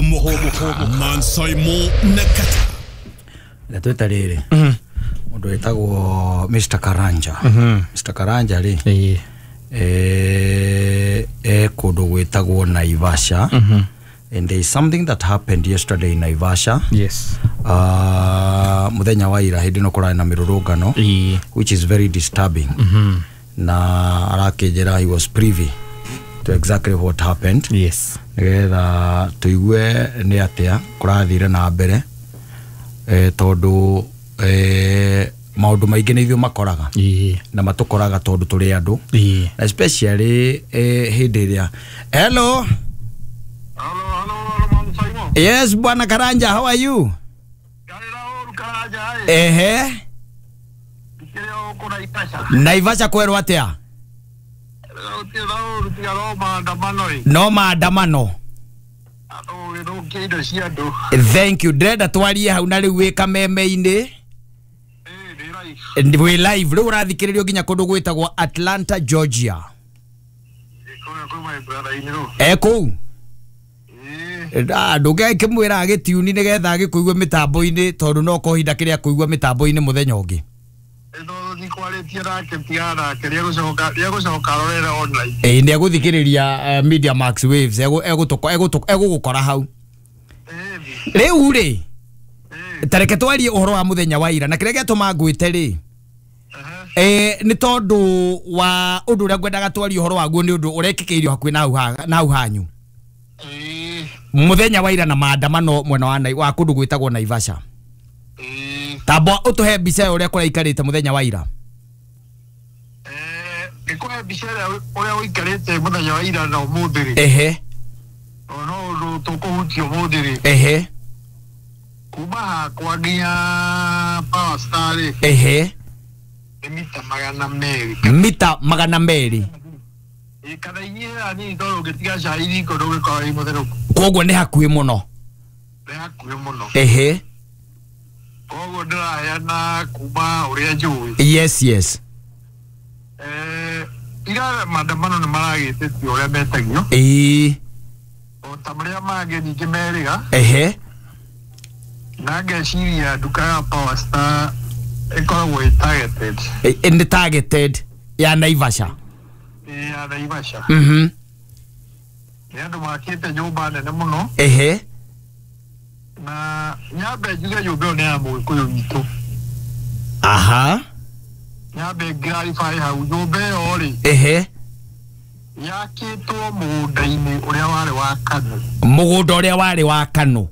Hũmũka Mansaimo na Kata. Twĩta rĩrĩ mũndũ wĩtagwo Mr. Karanja. Mr. Karanja rĩ, e kũndũ gwĩtagwo Naivasha, and there is something that happened yesterday in Naivasha. Muthenya wa ira hĩndĩ ĩno kũrarĩ na mĩrũrũngano, which is very disturbing, na arakĩnjĩra he was privy to exactly what happened, nĩgetha tũigue nĩ atĩa kũrathire na mbere, tondũ maũndũ maingĩ nĩ ithuĩ makoraga na matũkoraga tondũ tũrĩ andũ, na especially hĩndĩ ĩrĩa. Hello. Hello, hello, hello, Mama Simon. Yes, Bwana Karanja, how are you? Karira ũru Karanja ĩ. Ikĩrĩ o gũkũ Naivasha. Naivasha kwerwo atĩa? Gũtirĩ na ũru tiga no maandamano ĩ. No maandamano. Andũ gũgĩthũkia indo cia andũ. Thank you. Ndĩrenda twarie hau na rĩu wĩ kameme-inĩ. Ĩ, ndĩ live. Wĩ live rĩu, ũrathikĩrĩrio nginya kũndũ gwĩtagwo Atlanta, Georgia. Ĩ, kũrĩa kwĩ my brother in law. E kũu. Ĩ. Ndũngĩkĩmwĩra agĩtiuni nĩgetha agĩkũigue mĩtambo-inĩ, tondũ no kohinda kĩrĩa kũigua mĩtambo-inĩ mũthenya ũngĩ. Ĩ, no ndikwarĩtie nake, tigana nake, rĩegũcoka arorere online. Ĩ, nĩ egũthikĩrĩria Media Max Waves, egũgũkora hau. Ĩ. Rĩu rĩ, Ĩ. ta reke twarie ũhoro wa mũthenya wa ira, na kĩrĩa gĩatũma ngwĩte rĩ, nĩ tondũ wa ũndũ ũrĩa ngwendaga twarie ũhoro waguo, nĩ ũndũ ũrekĩkĩirio hakuhĩ na hau hanyu mũthenya wa ira na maandamano mwena wa kũndũ gwĩtagwo Naivasha. Tamba ũtũhe mbica ya ũrĩa kũraikarĩte mũthenya wa ira. Ngĩkũhe mbica ĩrĩa ũrĩa ũikarĩte mũthenya wa ira na ũmũthĩ rĩ, no ũndũ tũkũhutia ũmũthĩ rĩ, kuma hakwa nginya Power Star rĩ, nĩ mita 200. Mita 200. Ĩ, kana inyihĩra nini, tondũ ũngĩtiga cai riko ndũgĩkorwo wĩ mũtherũku. Koguo nĩ hakuhĩ mũno. Nĩ hakuhĩ mũno. Koguo ndĩraheana kuma ũrĩa njũĩ. Yes. Ira maandamano nĩ maragĩtĩtio ũrĩa metagio, o ta marĩa mangĩ ningĩ merĩga, na ngeciria nduka ya Power Star ĩkoragwo ĩ targeted. Nĩ targeted ya Naivasha. Ĩ, ya Naivasha. Nĩ andũ makĩte nyũmba nene mũno, na nyambe njuge nyũmba ĩyo nĩ ya mũgĩkũyũ witũ. Nyambe clarify hau, nyũmba ĩyo rĩ, yakĩtwo mũgũnda-inĩ ũrĩa warĩ wa Kanu. Mũgũnda ũrĩa warĩ wa Kanu.